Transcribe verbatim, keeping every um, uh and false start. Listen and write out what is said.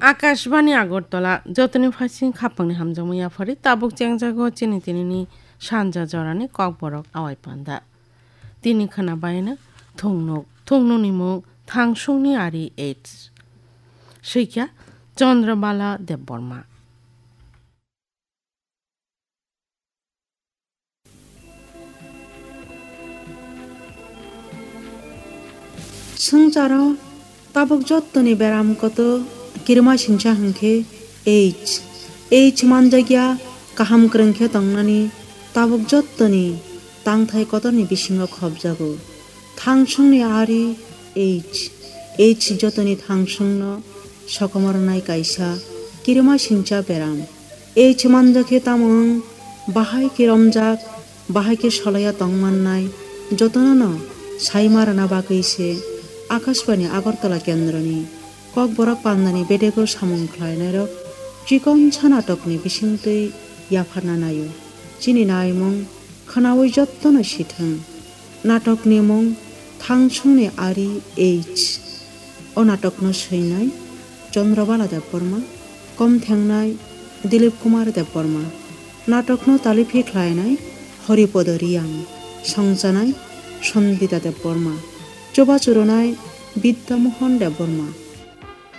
Akashbani Agartala, jotoni phaising khapangni hamjakmung yaphari tabuk chengjago chini tinini sanja jorani kokborok awai panda. Tini khwna baino thungnuk, thungnukni mung Thangsungni Ari AIDS. Swikya Chandrabala Debbarma. Swngcharo tabuk jottoni beram kotor kirima singcha hwnkhe AIDS. AIDS manjakya kaham kwrwng khe tongnani tabuk jottoni tangthai kotorni bisingo khopjago. Thangsungni Ari AIDS. AIDS jotoni thangsungno sokomornai kaisa kirima singcha beram. AIDS manjakhe tamo wng, bahai khe romjak, bahai khe solaiya tongmannai, jotonono saima rwna bagwi se Akashbani Agartala kendroni Kokborok pandani bedego samung khlainairok Chikonsa natokni bisingtwi yapharna naio. Chini naimung khwnaui jottono sithwng. Natokni mung Thangsungni Ari AIDS. O natokno swinai Chandrabala Debbarma, kom thengnai Dilip Kumar Debbarma. Natokno taliphi khlainai Haripada Reang, songchanai Sangita Debbarma, chubachu rwnai Bidya Mohan Debbarma.